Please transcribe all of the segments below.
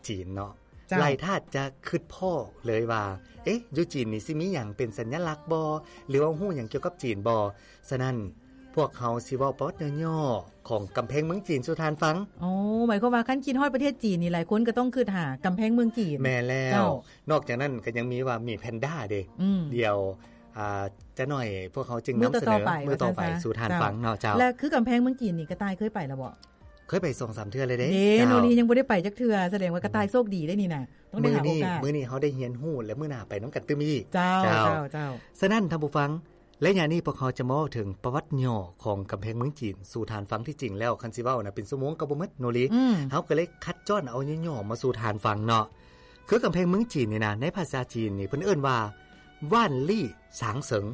ຈີນເນາະ ເຈົ້າ ຫຼາຍທ່ານຈະຄິດພໍ້ເລີຍວ່າ ເອະ ຢູ່ຈີນນີ້ຊິມີຫຍັງເປັນສັນຍະລັກບໍ່ ຫຼືວ່າຮູ້ຫຍັງກ່ຽວກັບຈີນບໍ່? ສະນັ້ນ ພວກເຮົາຊິເວົ້າປະຫວັດຫຍໍ້ໆຂອງກຳແພງເມືອງຈີນສູ່ທ່ານຟັງ. ໂອ້ ໝາຍຄວາມວ່າຄັນຄິດຮອດປະເທດຈີນນີ້ ຫຼາຍຄົນກໍຕ້ອງຄິດຫາກຳແພງເມືອງຈີນ. ແມ່ນແລ້ວ. ເຈົ້າ. ນອກຈາກນັ້ນກໍຍັງມີວ່າໝີແພນດ້າເດ້. ອືມ. ດຽວ ອ່າ ຈະໜ້ອຍພວກເຮົາຈຶ່ງນຳສະເໜີມື້ຕໍ່ໄປ ມື້ຕໍ່ໄປສູ່ທ່ານຟັງເນາະ. ເຈົ້າ. ແລະ ຄືກຳແພງເມືອງຈີນນີ້ ກະຕ່າຍເຄີຍໄປແລ້ວບໍ່? ເຄີຍໄປສອງສາມເທື່ອແລ້ວເດ້. ເດ້ ໂນລີຍັງບໍ່ໄດ້ໄປຈັກເທື່ອ ສະແດງວ່າກະຕ່າຍໂຊກດີເດ້ນີ້ນະ ຕ້ອງໄດ້ຫາໂອກາດ. ມື້ນີ້ ມື້ນີ້ເຮົາໄດ້ຮຽນຮູ້ ແລະ ມື້ໜ້າໄປນຳກັນຕື່ມອີກ. ເຈົ້າ ເຈົ້າ ເຈົ້າ ເຈົ້າ. ສະນັ້ນທ່ານຜູ້ຟັງ ໄລຍະນີ້ພວກເຮົາຈະມາເວົ້າເຖິງປະຫວັດຫຍໍ້ຂອງກຳແພງເມືອງຈີນສູ່ທ່ານຟັງ. ທີ່ຈິງແລ້ວຄັນຊິເວົ້ານະ ເປັນຊົ່ວໂມງກໍບໍ່ໝົດໂນລີ. ອືມ. ເຮົາກໍເລີຍຄັດຈ້ອນເອົາຫຍໍ້ໆມາສູ່ທ່ານຟັງເນາະ. ຄືກຳແພງເມືອງຈີນນີ້ນະ ໃນພາສາຈີນນີ້ເພິ່ນເອີ້ນວ່າ ຫວ້ານລີ້ຊາງເສີງ.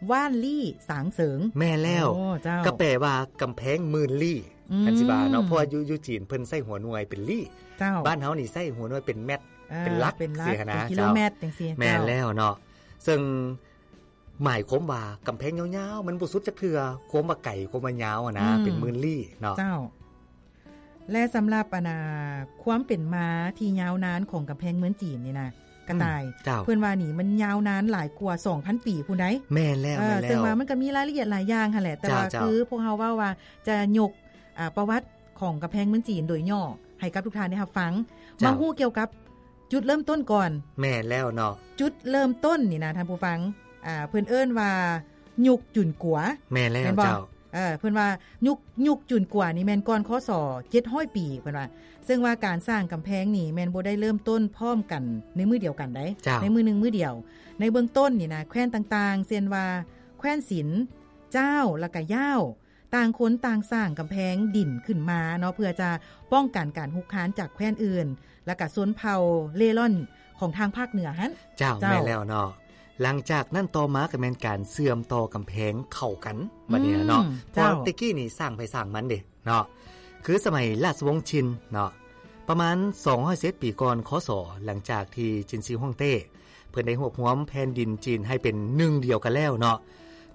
ຫວ້ານລີ້ຊາງເສີງ. ແມ່ນແລ້ວ. ໂອ້ ເຈົ້າ. ກໍແປວ່າກຳແພງໝື່ນລີ້. ອືມ. ຄັນຊິວ່າເນາະ ເພາະວ່າຢູ່ ຢູ່ຈີນເພິ່ນໃຊ້ຫົວໜ່ວຍເປັນລີ້. ເຈົ້າ. ບ້ານເຮົານີ້ໃຊ້ຫົວໜ່ວຍເປັນແມັດ ເອີ ເປັນຫຼັກ ເປັນຫຼັກ ຊີ້ຫັ້ນນະ. ເປັນກິໂລແມັດ ເຈົ້າ ຈັ່ງຊີ້. ແມ່ນແລ້ວເນາະ. ເຈົ້າ. ເຊິ່ງໝາຍຄວາມວ່າກຳແພງຍາວໆ ມັນບໍ່ສຸດຈັກເທື່ອ ຄວາມວ່າໄກ ຄວາມວ່າຍາວຫັ້ນນະ. ອືມ. ເປັນໝື່ນລີ້ເນາະ. ເຈົ້າ. ແລະ ສຳລັບ ອັນນ່າ ຄວາມເປັນມາທີ່ຍາວນານຂອງກຳແພງເມືອງຈີນນີ້ນະ ກະຕ່າຍ. ອືມ. ເຈົ້າ. ເພິ່ນວ່ານີ້ມັນຍາວນານຫຼາຍກວ່າສອງພັນປີພຸ້ນໃດ໋. ແມ່ນແລ້ວ. ເອີ ແມ່ນແລ້ວ. ເຊິ່ງວ່າມັນກໍມີລາຍລະອຽດຫຼາຍຢ່າງຫັ້ນແຫຼະ ແຕ່ວ່າ ເຈົ້າ ຄືພວກເຮົາເວົ້າວ່າຈະຍົກ ອ່າ ປະຫວັດຂອງກຳແພງເມືອງຈີນໂດຍຫຍໍ້ໃຫ້ກັບທຸກທ່ານໄດ້ຮັບຟັງ. ເຈົ້າ. ມາຮູ້ກ່ຽວກັບຈຸດເລີ່ມຕົ້ນກ່ອນ. ແມ່ນແລ້ວເນາະ. ຈຸດເລີ່ມຕົ້ນນີ້ນະທ່ານຜູ້ຟັງ ອ່າ ເພິ່ນເອີ້ນວ່າຍຸກຈຸນກົວ. ແມ່ນແລ້ວ. ແມ່ນບໍ່? ເຈົ້າ. ເອີ ເພິ່ນວ່າຍຸກ ຍຸກຈຸນກົວນີ້ແມ່ນກ່ອນ ຄ.ສ. ເຈັດຮ້ອຍປີ ເພິ່ນວ່າ. ເຊິ່ງວ່າການສ້າງກຳແພງນີ້ແມ່ນບໍ່ໄດ້ເລີ່ມຕົ້ນພ້ອມກັນໃນມື້ດຽວກັນໃດ໋. ເຈົ້າ. ໃນມື້ໜຶ່ງມື້ດຽວ. ໃນເບື້ອງຕົ້ນນີ້ນະ ແຄວ້ນຕ່າງໆ ເຊັ່ນວ່າແຄວ້ນຊິນ, ຈ້າວ ແລ້ວກະຢ້າວ ຕ່າງຄົນຕ່າງສ້າງກຳແພງດິນຂຶ້ນມາເນາະ ເພື່ອຈະປ້ອງກັນການຮຸກຮານຈາກແຄວ້ນອື່ນ ແລ້ວກະຊົນເຜົ່າເລ່ລ່ອນຂອງທາງພາກເໜືອຫັ້ນ. ເຈົ້າ. ເຈົ້າ. ແມ່ນແລ້ວເນາະ. ຫຼັງຈາກນັ້ນຕໍ່ມາກໍແມ່ນການເຊື່ອມຕໍ່ກຳແພງເຂົ້າກັນ ອືມ ບັດນີ້ເນາະ. ເຈົ້າ. ເພາະແຕ່ກີ້ນີ້ສ້າງໃຜສ້າງມັນເດ້ເນາະ. ຄືສະໄໝລາຊະວົງຊິນເນາະ ປະມານສອງຮ້ອຍສິບເອັດປີກ່ອນ ຄ.ສ. ຫຼັງຈາກທີ່ຈິນຊີຮ່ວງເຕ້ ເພິ່ນໄດ້ຮວບຮວມແຜ່ນດິນຈີນໃຫ້ເປັນໜຶ່ງດຽວກັນແລ້ວເນາະ,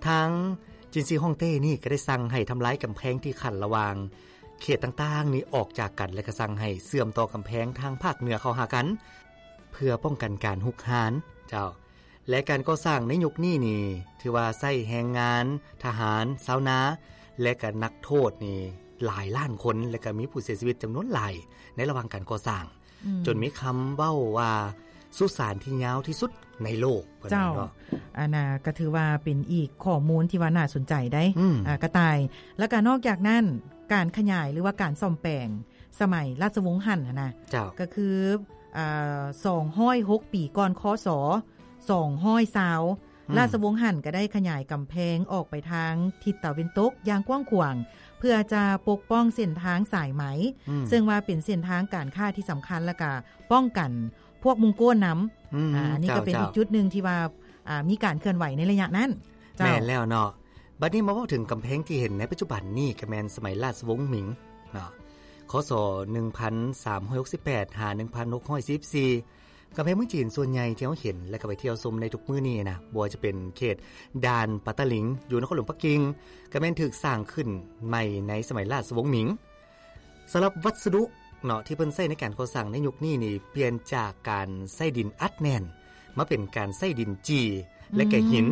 ທາງຈິນຊີຮ່ວງເຕ້ນີ້ກໍໄດ້ສັ່ງໃຫ້ທຳລາຍກຳແພງທີ່ຂັ້ນລະຫວ່າງເຂດຕ່າງໆນີ້ອອກຈາກກັນ ແລະ ກໍສັ່ງໃຫ້ເຊື່ອມຕໍ່ກຳແພງທາງພາກເໜືອເຂົ້າຫາກັນ ເພື່ອປ້ອງກັນການຮຸກຮານ. ເຈົ້າ. ແລະ ການກໍ່ສ້າງໃນຍຸກນີ້ນີ້ ຖືວ່າໃຊ້ແຮງງານ, ທະຫານ, ຊາວນາ ແລະ ກະນັກໂທດນີ້ຫຼາຍລ້ານຄົນ ແລະ ກະມີຜູ້ເສຍຊີວິດຈຳນວນຫຼາຍໃນລະຫວ່າງການກໍ່ສ້າງ. ອືມ. ຈົນມີຄຳເວົ້າວ່າ ສຸສານທີ່ຍາວທີ່ສຸດໃນໂລກ. ເຈົ້າ. ເນາະ. ອັນນ່າ ກະຖືວ່າເປັນອີກຂໍ້ມູນທີ່ວ່າໜ້າສົນໃຈໄດ໋. ອືມ. ອາ ກະຕ່າຍ. ແລ້ວກະນອກຈາກນັ້ນ ການຂະຫຍາຍ ຫຼືວ່າການສ້ອມແປງ ສະໄໝລາຊະວົງຮັນຫັ້ນນະ. ເຈົ້າ. ກໍຄື ອ່າ ສອງຮ້ອຍຫົກປີກ່ອນ ຄ.ສ. ສອງຮ້ອຍຊາວ ອືມ. ລາຊະວົງຮັນກໍໄດ້ຂະຫຍາຍກຳແພງອອກໄປທາງທິດຕາເວັນຕົກຢ່າງກວ້າງຂວາງ ເພື່ອຈະປົກປ້ອງເສັ້ນທາງສາຍໄໝ ອືມ. ເຊິ່ງວ່າເປັນເສັ້ນທາງການຄ້າທີ່ສຳຄັນ ແລ້ວກະປ້ອງກັນພວກມົງໂກນນຳ. ອືມ. ອາ ອັນນີ້ກໍເປັນ ເຈົ້າ ອີກຈຸດໜຶ່ງທີ່ວ່າ ອ່າ ມີການເຄື່ອນໄຫວໃນໄລຍະນັ້ນ. ເຈົ້າ. ແມ່ນແລ້ວເນາະ. ບັດນີ້ມາເວົ້າເຖິງກຳແພງທີ່ເຫັນໃນປັດຈຸບັນນີ້ ກໍແມ່ນສະໄໝລາຊະວົງໝິງເນາະ ຄ.ສ. ໜຶ່ງພັນສາມຮ້ອຍຫົກສິບແປດ ຫາ ໜຶ່ງພັນຫົກຮ້ອຍສີ່ສິບສີ່. ກຳແພງເມືອງຈີນສ່ວນໃຫຍ່ທີ່ເຮົາເຫັນ ແລະ ກໍໄປທ່ຽວຊົມໃນທຸກມື້ນີ້ນະ ບໍ່ວ່າຈະເປັນເຂດດ່ານປາຕາລິງ ຢູ່ນະຄອນຫຼວງປັກກິ່ງ ກໍແມ່ນຖືກສ້າງຂຶ້ນໃໝ່ໃນສະໄໝລາຊະວົງໝິງ. ສຳລັບວັດສະດຸເນາະ ທີ່ເພິ່ນໃຊ້ໃນການກໍ່ສ້າງໃນຍຸກນີ້ນີ້ ປ່ຽນຈາກການໃຊ້ດິນອັດແໜ້ນ ມາເປັນການໃຊ້ດິນຈີ່ ແລະ ກະຫີນ ອືມ.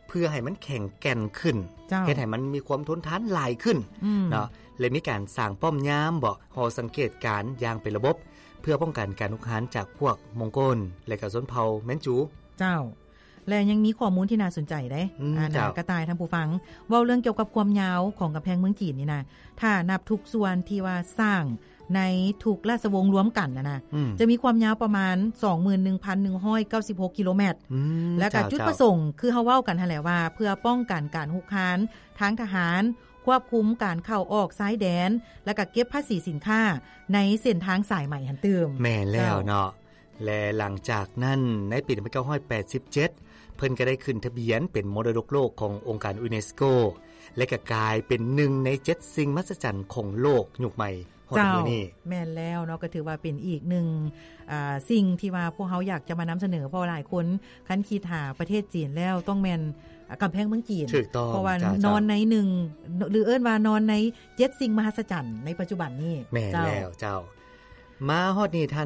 ເພື່ອໃຫ້ມັນແຂງແກ່ນຂຶ້ນ. ເຈົ້າ. ເຮັດໃຫ້ມັນມີຄວາມທົນທານຫຼາຍຂຶ້ນ. ອືມ. ເນາະ ແລະ ມີການສ້າງປ້ອມຍາມເບາະ ຫໍສັງເກດການຢ່າງເປັນລະບົບ ເພື່ອປ້ອງກັນການຮຸກຮານຈາກພວກມົງໂກນ ແລະ ກະຊົນເຜົ່າແມນຈູ. ເຈົ້າ. ແລະ ຍັງມີຂໍ້ມູນທີ່ໜ້າສົນໃຈເດ້. ອືມ. ອ່າ ເຈົ້າ. ກະຕ່າຍ ທ່ານຜູ້ຟັງ ເວົ້າເລື່ອງກ່ຽວກັບຄວາມຍາວຂອງກຳແພງເມືອງຈີນນີ້ນະ ຖ້ານັບທຸກສ່ວນທີ່ວ່າສ້າງ ໃນທຸກລາຊະວົງລວມກັນນະນະ ອືມ ຈະມີຄວາມຍາວປະມານ ສອງໝື່ນໜຶ່ງພັນໜຶ່ງຮ້ອຍເກົ້າສິບຫົກກິໂລແມັດ. ອືມ ແລ້ວກະ ເຈົ້າ ຈຸດປະສົງ ເຈົ້າ ຄືເຮົາເວົ້າກັນຫັ້ນແຫຼະວ່າ ເພື່ອປ້ອງກັນການຮຸກຮານທາງທະຫານ, ຄວບຄຸມການເຂົ້າອອກຊາຍແດນ ແລ້ວກະເກັບພາສີສິນຄ້າໃນເສັ້ນທາງສາຍໄໝຫັ້ນຕື່ມ. ແມ່ນແລ້ວເນາະ. ເຈົ້າ. ແລະ ຫຼັງຈາກນັ້ນ ໃນປີໜຶ່ງພັນເກົ້າຮ້ອຍແປດສິບເຈັດ ເພິ່ນກໍໄດ້ຂຶ້ນທະບຽນເປັນມໍລະດົກໂລກຂອງອົງການຢູເນສໂກ ແລະ ກໍກາຍເປັນໜຶ່ງໃນເຈັດສິ່ງມະຫັດສະຈັນຂອງໂລກຍຸກໃໝ່ຮອດມື້ນີ້. ເຈົ້າ ແມ່ນແລ້ວເນາະ, ກໍຖືວ່າເປັນອີກໜຶ່ງ ອ່າ ສິ່ງທີ່ວ່າພວກເຮົາຢາກຈະມານຳສະເໜີ, ເພາະວ່າຫຼາຍຄົນຄັນຄິດຫາປະເທດຈີນແລ້ວ ຕ້ອງແມ່ນ ອ່າ ກຳແພງເມືອງຈີນ. ຖືກຕ້ອງ. ເພາະວ່າ ເຈົ້າ ນອນໃນໜຶ່ງ ຫຼື ເອີ້ນວ່ານອນໃນເຈັດສິ່ງມະຫັດສະຈັນໃນປັດຈຸບັນນີ້. ແມ່ນແລ້ວ ເຈົ້າ. ເຈົ້າ. ມາຮອດນີ້ທ່ານ